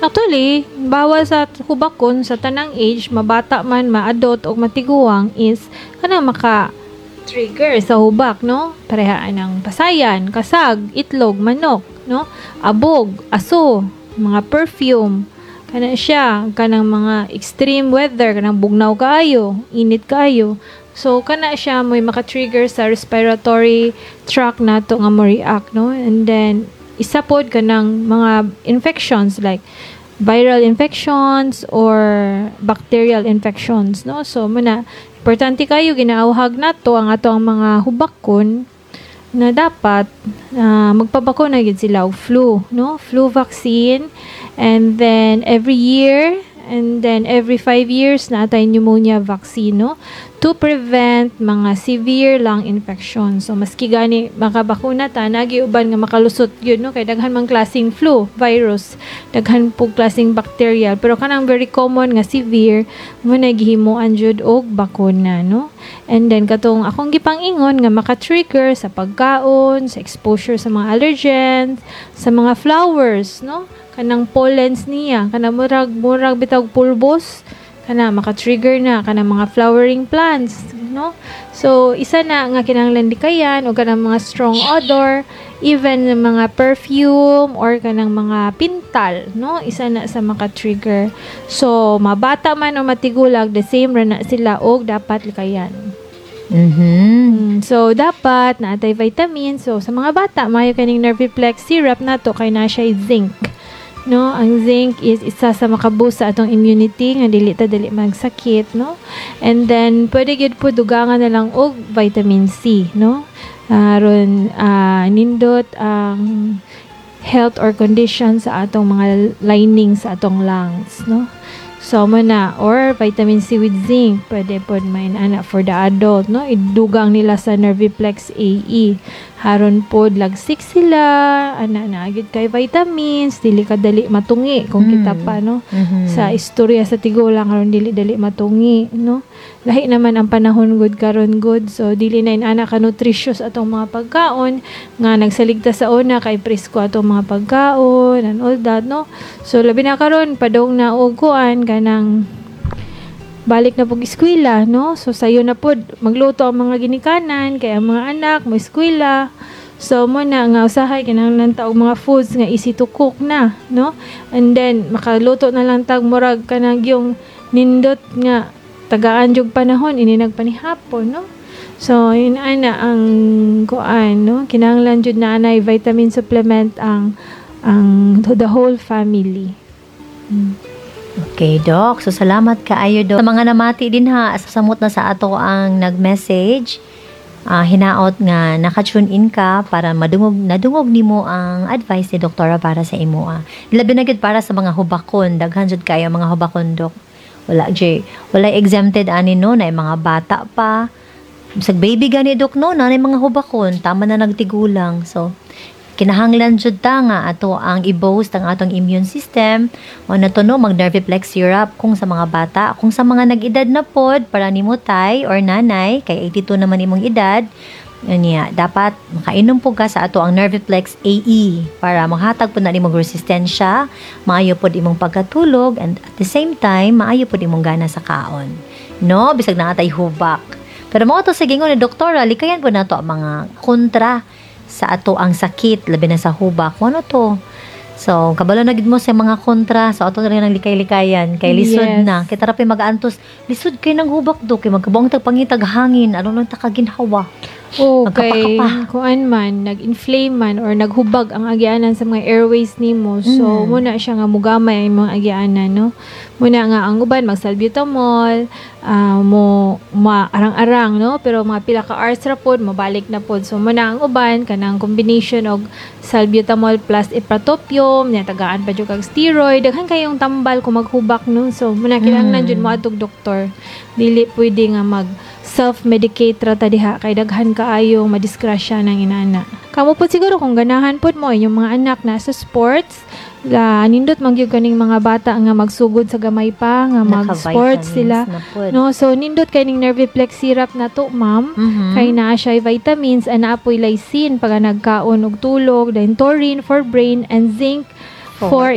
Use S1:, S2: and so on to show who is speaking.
S1: Actually, bawal sa hubakon sa tanang age, mabata man, ma-adult o matiguang, is kanang maka trigger sa hubak, no? Parehaan ng pasayan, kasag, itlog, manok, no? Abog, aso, mga perfume, kana siya, kanang mga extreme weather, kanang bugnaw kaayo, init kaayo. So kana siya mo'y maka-trigger sa respiratory tract nato nga mo react, no? And then isa pod kanang mga infections like viral infections or bacterial infections, no? So muna importante kayo ginaawhag nato ang ato ang mga hubakon na dapat magpabakuna gid sila og flu, no? Flu vaccine, and then every year and then every 5 years na atay pneumonia vaccine, no? To prevent mga severe lung infection. So maski gani makabakuna ta, nagi uban nga makalusot yun, no? Kay daghan mang klaseng flu virus, daghan pug klaseng bacterial, pero kanang very common nga severe mo na gihimuan jud og bakuna, no? And then katong akong gipang-ingon nga maka-trigger sa pagkaon, sa exposure sa mga allergens, sa mga flowers, no? Kanang pollens niya, kanang murag bitaw pulbos, kana maka-trigger na kanang mga flowering plants, no? So isa na nga kinahanglan likayan o kanang mga strong odor, even mga perfume or kanang mga pintal, no? Isa na sa maka-trigger. So mabata man o matigulag, the same ra na sila og dapat likayan. So dapat naatay vitamin. So sa mga bata, maayo kaning Nerviplex syrup nato kay na siya zinc. No, ang zinc is isa sa makaboost sa atong immunity nga dili ta dali magsakit, no? And then pwede gyud po dugangan na lang og vitamin C, no? Aron nindot ang health or condition sa atong mga lining sa atong lungs, no? So mo na, or vitamin C with zinc pwede pod main ana for the adult, no? Idugang nila sa Nerviplex AE. Haron pod lagsik sila, ana na gid kay vitamins, dili ka dali matungi kung kita pa, no? Sa istorya sa tigulang karon, dili dali matungi, no? Lahi naman ang panahon gud karon gud, so dili na inana ka nutritious atong mga pagkaon nga nagsaligta sa una kay presko atong mga pagkaon and all that, no? So labi na karon padong na og kuan, kanang balik na pug eskwela, no? So sayo na pod magluto ang mga ginikanan kay ang mga anak mo eskwela. So mo na nga usahay kinahanglan ta og mga foods nga easy to cook na, no? And then makaluto na lang tag murag kanang yung nindot nga tagaan jug panahon ini nagpanihapon, no? So yun ana ang kuan, no? Kinahanglan jud na anay vitamin supplement ang the whole family.
S2: Okay, Doc. So, salamat kaayo, Doc. Sa mga namati din ha, samot na sa ato ang nag-message. Hinaot nga naka-tune in ka para madungog nadungog nimo ang advice ni doktora para sa imo. Labi na gyud para sa mga hubakon, daghan jud kayo mga hubakon, Dok. Wala jay, wala exempted ani, no, na mga bata pa. Sa baby gani, Dok, no, na mga hubakon, tama na nagtigulang. So kinahanglan jud ta nga ato ang i-boost ang atong immune system o na to, no, mag Nerviplex syrup kung sa mga bata. Kung sa mga nag-edad na pod, para nimo tay or nanay, kay 82 naman imong edad niya, dapat makainom po ka sa ato ang Nerviplex AE para manghatag po na imong resistensya, maayo pod imong pagkatulog, and at the same time maayo pod imong gana sa kaon, no, bisag naa tay hubak. Pero mao to sa gingon ni doktora, likayan po nato ang mga kontra sa ato ang sakit, labi na sa hubak. Ano to? So, kabalo na gid mo sa mga kontra. So, ato na rin ang likay-likayan. Kay lisod na. Kay tara pa mag-antos. Lisod kay nang hubak do. Kay magkabuang tag pangitag hangin. Ano lang ta kaginhawa.
S1: Oh, kay
S2: Magkapakapa.
S1: Kuan man, nag-inflame man or naghubag ang agianan sa mga airways nimo. So, muna siya nga mugamay ang mga agianan, no? Muna nga ang uban mag-salbutamol, mo maarang-arang, no? Pero mga pila ka hours ra pod mabalik na pod. So, muna ang uban kanang combination og salbutamol plus ipratropium, nya tagaan pa jud kag steroid, daghan kayong tambal kung maghubak, no? So, muna kinahanglan jud mo adtog doktor. Dili pwede nga mag self-medicate ra ta diha kay daghan kaayong madisgrasya ng inana. Kamo po siguro kung ganahan pod mo inyong mga anak na sa sports, la nindot man gyud kaning mga bata nga magsugod sa gamay pa nga mag-sports
S2: Naka-vitamins
S1: sila.
S2: na pod.
S1: No, so nindot kay ning Nerviplex syrup na to, ma'am. Kay naa siya vitamins and naa poy lysine pag nagkaon og tulog, then taurine for brain and zinc
S2: For
S1: for